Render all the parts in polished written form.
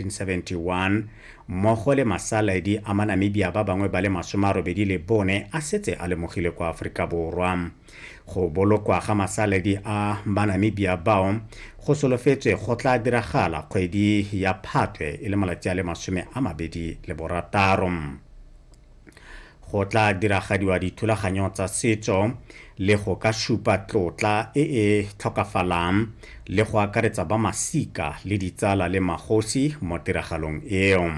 1971 mmogo le masaledi a Manamibia ba bangwe ba le 84 a setse a lemogile kwa Aforika Borwa. Go bolokwa ga masaledi a Manamibia bao go solofetswe go tla diragala kgwedi ya Phatwe e le malatsi a le 26. Go tla diragadiwa dithulaganyo tsa setso le go ka supa tlotla e e tlhokafalang le go akaretsa ba masika le ditsala le magosi mo tiragalong eo.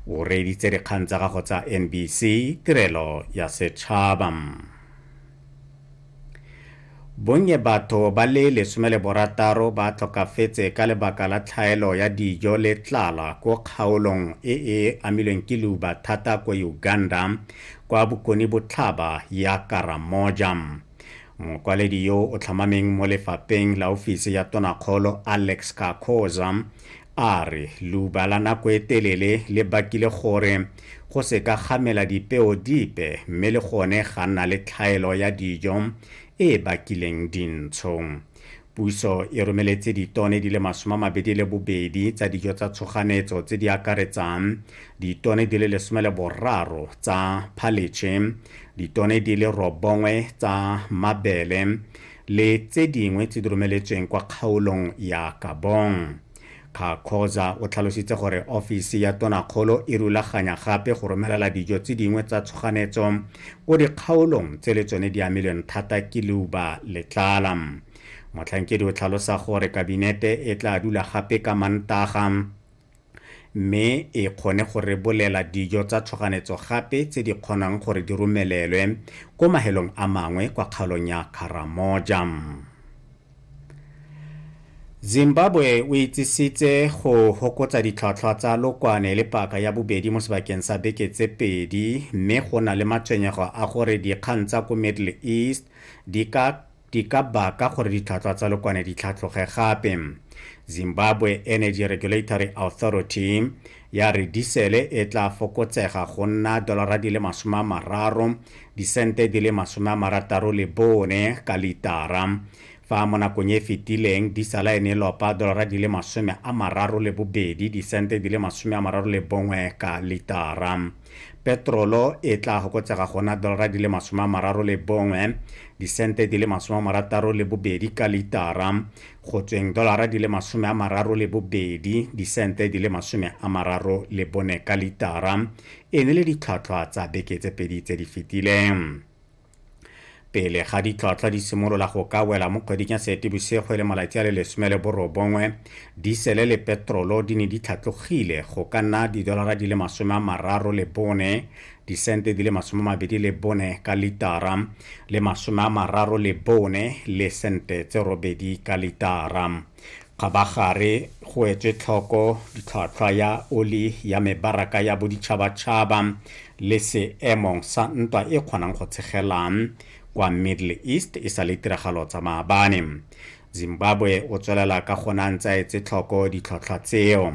O reeditse dikgang tsa gago tsa NBC Tirelo ya Setšhaba. Bonnye batho ba le 16 ba tlhokafetse ka lebaka la tlhaelo ya dijo le tlala ko kgaolong e e amilweng ke leuba thata ko Uganda kwa bokone botlhaba ya Karamoja. Mokwaledi yo o tlhomameng mo lefapeng la ofisi ya tonakgolo Alex Kakhoza a re leuba la nako e telele le bakile gore go se ka gamela dipeo dipe mme le gone ga nna le tlhaelo ya dijo e bakileng dintsho. Puso e romeletse ditone di le 22 tsa dijo tsa tshoganetso tse di akaretsang ditone di le 13 tsa phaletšhe, ditone di le 9 tsa mabele le tse dingwe tse di romeletsweng kwa kgaolong ya Kabong. Kakhoza o tlhalositse gore ofisi ya tonakgolo e rulaganya gape go romelela dijo tse dingwe tsa tshoganetso ko dikgaolong tse le tsone di amilweng thata ke leuba le tlala. Motlhankedi o tlhalosa gore kabinete e tla dula gape ka Mantaga mme e kgone go rebolela dijo tsa tshoganetso gape tse di kgonang gore di romelelwe ko mahelong a mangwe kwa kgaolong ya Karamoja. Zimbabwe o itsisitse go hokotsa ditlhwatlhwa tsa lokwane le paka ya bobedi mo sebakeng sa beke tse pedi mme go na le matshwenyego a gore dikgang tsa ko Middle East di ka baka gore ditlhwatlhwa tsa lokwane di tlhatloge gape. Zimbabwe Energy Regulatory Authority ya re disele e tla fokotsega go nna dolara di le 30 disente di le 64 ka litara. Fa mo nakong e fetileng disala e ne lopa dolara di le 32 disente di le 31 ka litara. Petrolo e tla fokotsega go nna dolara di le 31 disente di le 62 ka litara go tsweng dolara di le 32 disente di le 34 ka litara e ne le ditlhwatlhwa tsa beke tse pedi tse di fetileng. Pele ga ditlhwatlhwa di simolola go ka wela mo kgweding ya Seetebosigo e le malatsi a le 19, disele le petrolo di ne di tlhatlogile go ka nna didolara di le 34 disente di le 24 ka litara le 34 le sente tse 8 ka litara. Kgabagare go etswe tlhoko ditlhwatlhwa ya oli ya mebaraka ya boditšhabatšhaba le seemo sa ntwa e kgonang go tshegelang kwa Middle East e sa le tiragalo tsa maabane. Zimbabwe o tswelela ka gona ntse a etse tlhoko ditlhwatlhwa tseo.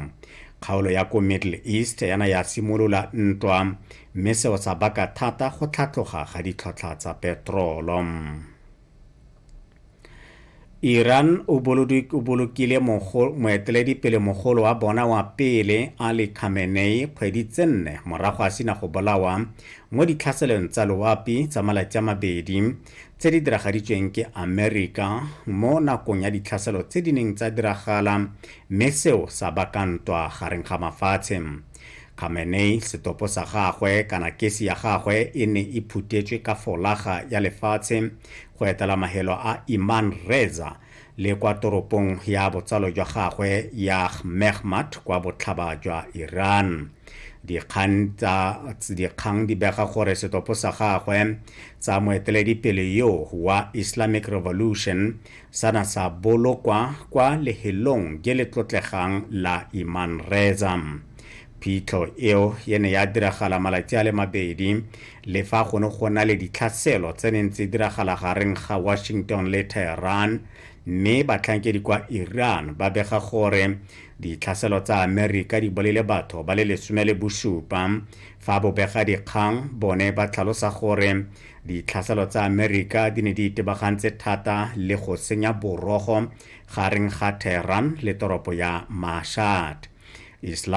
Kgaolo ya ko Middle East yana ya simolola ntwa mme seo sa baka thata go tlhatloga ga ditlhwatlhwa tsa petrolo. Iran o bolokile moeteledipele mogolo wa bona wa pele Ali Khamenei kgwedi tse 4 morago a sena go bolawa mo ditlhaselong tsa loapi tsa malatsi a mabedi tse di diragaditsweng ke Amerika mo nakong ya ditlhaselo tse di neng tsa diragala mme seo sa baka ntwa gareng ga mafatshe. Khamenei setopo sa gagwe kana kesi ya gagwe e ne e phutetswe ka folaga ya lefatshe go etela mahelo a Iman Reza le kwa toropong ya botsalo jwa gagwe ya Mehmat kwa botlhaba jwa Iran. Dikgang di bega gore setopo sa gagwe tsa moeteledipele yo wa Islamic Revolution sana sa bolokwa kwa lehelong je le tlotlegang la Iman Reza. Phitlho eo e ne ya diragala malatsi a le mabedi le fa go ne go na le ditlhaselo tse neng tse diragala gareng ga Washington le Tehran mme batlhankedi kwa Iran ba bega gore ditlhaselo tsa Amerika di bolele batho ba le 17 fa bobega dikgang bone ba tlhalosa gore ditlhaselo tsa Amerika di ne di itebagantse thata le go senya borogo gareng ga Tehran le toropo ya Mashhad. Islam.